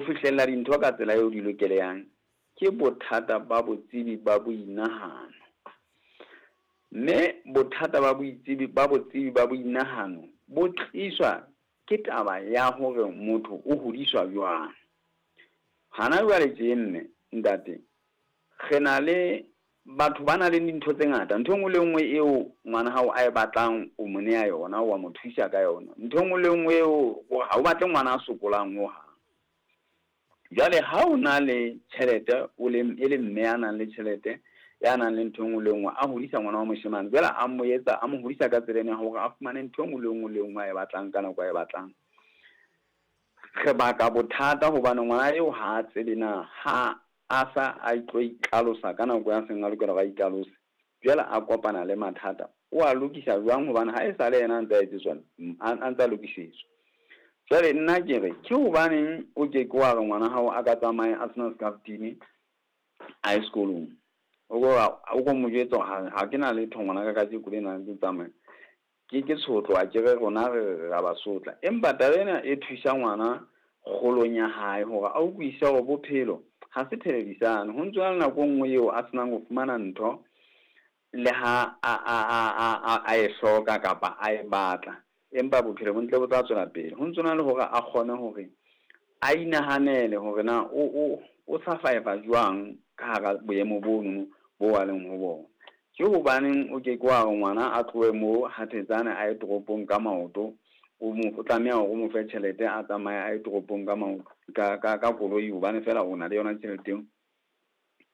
Fihlella dintho ka tsela eo di lokelehang ke bothata ba botsebi ba boinahano. Mme bothata ba boitsebi ba botsebi ba boinahano bo tliswa ke taba ya hore motho o hodiswa jwang. Hana jwale tje mme, ntate, re na le batho ba nang le dintho tse ngata. Ntho e nngwe le e nngwe eo ngwana hao a e batlang, o mo neha yona, wa mo thusa ka yona. Ntho e nngwe le e nngwe eo ha o batle ngwana a sokolang hohang. Jwale ha o na le tjhelete, o le e le mme ya nang le tjhelete, ya nang le ntho e nngwe le e nngwe, a hodisa ngwana wa moshemane, jwale a mo etsa, a mo hodisa ka tsela ena ya hore a fumane ntho e nngwe le e nngwe le e nngwe a e batlang ka nako a e batlang. Re baka bothata hobane ngwana eo ha a tsebe na ha a sa a tlo itlhalosa ka nako ya seng a lokela hore a itlhalose. Jwale a kopana le mathata, o a lokisa jwang hobane ha e sale yena a ntse a etsetswa, a ntse a lokisetswa. Jwale nna ke re, ke hobaneng o ke ke wa re ngwana hao a ka tsamaya a sena scarftini a ye sekolong? O ko mo jwetsa hore ha ke na letho ngwana ka kajeko lena ke tsamaya. Ke tshotlo, a ke re rona re ra ba sotla. Empa taba ena e thusa ngwana kgolong ya hae hore a utlwisise hore bophelo ha se televisano. Ho ntso na le nako e nngwe eo a senang ho fumana ntho le ha a e hloka kapa a e batla. Empa bophelo bo ntle bo tla tswela pele. Ho ntso na le hore a kgone hore a inahanele hore na o survive jwang ka hara boemo bono bo a leng ho bona. Ke hobaneng o ke ke wa re ngwana a tlohe mo Hathetsane a ye toropong ka maoto, o tlameha hore o mo fe tjhelete a tsamaye a ye toropong ka maoto, ka koloi hobane feela o na le yona tjhelete eo.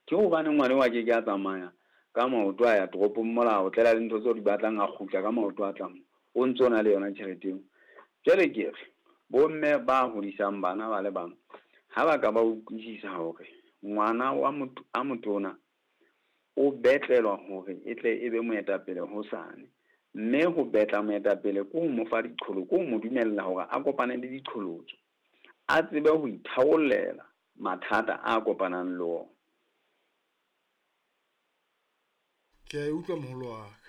Ke hobaneng ngwana eo a ke ke a tsamaya ka maoto a ya toropong mola o tlela le ntho tseo di batlang, a kgutla ka maoto a tlang, o ntso na le yona tjhelete eo. Jwale ke re bomme ba hodisang bana ba le bang ha ba ka ba utlwisisa hore ngwana wa motho a motona o betlelwa hore e tle e be moetapele hosane, mme ho betla moetapele ke ho mo fa diqholotso, ke ho mo dumella hore a kopane le diqholotso, a tsebe ho itharollela mathata a kopanang le ona. Ke a e utlwa moholo wa ka.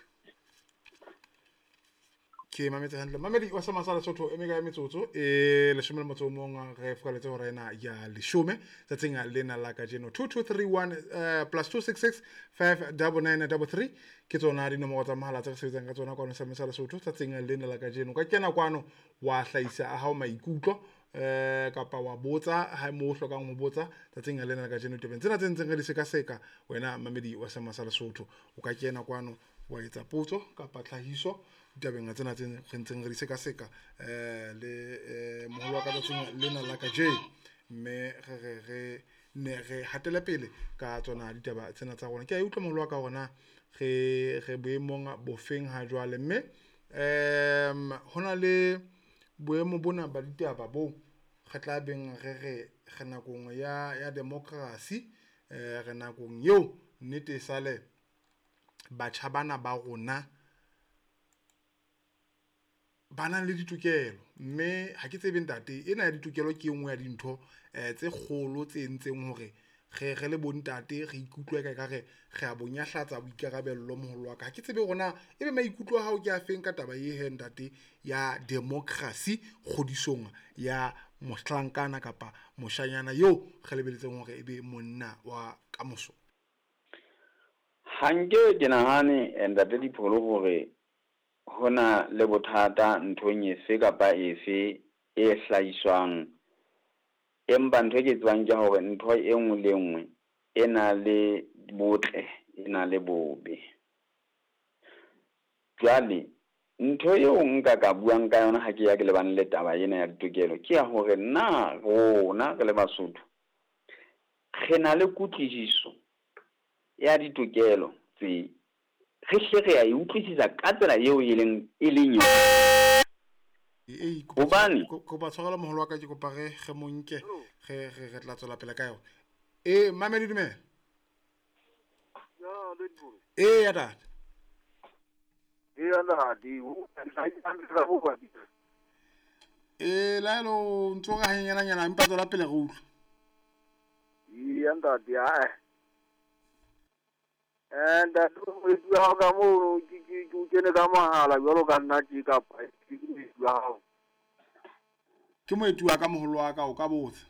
Ke mametse hantle. Mamedi wa Sama sa Lesotho e mekae metsotso e 11 re fokaletse hora ena ya 10 tsatsing lena la kajeno. 2231 plus 266 59933 ke tsona dinomoro tsa mohala tse re sebetsang ka tsona kwano Sama sa Lesotho tsatsing lena la kajeno. Ka kena kwano wa hlahisa a hao maikutlo kapa wa botsa ha mo hlokang ho botsa tsatsing lena la kajeno tebeng tsena tse ntseng re di sekaseka. Wena mamedi wa Sama sa Lesotho o ka kena kwano wa etsa potso kapa tlhahiso ditabeng tsena tse re ntseng re di sekaseka le moholo wa ka tsatsing lena la kajeno, mme re ne re hatele pele ka tsona ditaba tsena tsa rona. Ke a utlwa moholo wa ka hore re boemong bofeng ha jwale, mme hona le boemo bona ba ditaba bo re tla beng re re nakong ya democracy, re nakong eo nnete e sale batjha bana ba rona ba nang le ditokelo. Mme ha ke tsebe ntate, ena ya ditokelo ke e nngwe ya dintho tse kgolo tse entseng hore re le bontate re ikutlwe ka ekare re a bonyahlatsa boikarabello moholo wa ka. Ha ke tsebe hore na ebe maikutlo a hao ke a feng ka taba e he ntate ya democracy kgodisong ya mohlankana kapa moshanyana eo re lebeletseng hore ebe monna wa kamoso. Ha nke ke nahane ntate Dipholo hore hona le bothata nthong efe kapa efe e hlahiswang, empa ntho e ke tsebang ke hore ntho e nngwe le nngwe e na le botle, e na le bobe. Jwale ntho eo nka ka buang ka yona ha ke ya ke lebane le taba ena ya ditokelo ke ya hore na rona re le Basotho re na le kutlwisiso ya ditokelo tse, re hle re a e utlwisisa ka tsela eo e leng yona. Hobane kopa tshwarelo moholo wa ka, ke kopa re mo nke re tla tswela pele ka yona. Mamedi dumela. Ya tata. Laelo ntso re hanyenyana empa tswela pele re utlwe. Ya ntate ntate moeti wa hao ka mono ke o kene ka mohala jwalo ka nna tje kapa ke moeti wa hao. Ke moeti wa ka moholo wa ka, o ka botsa.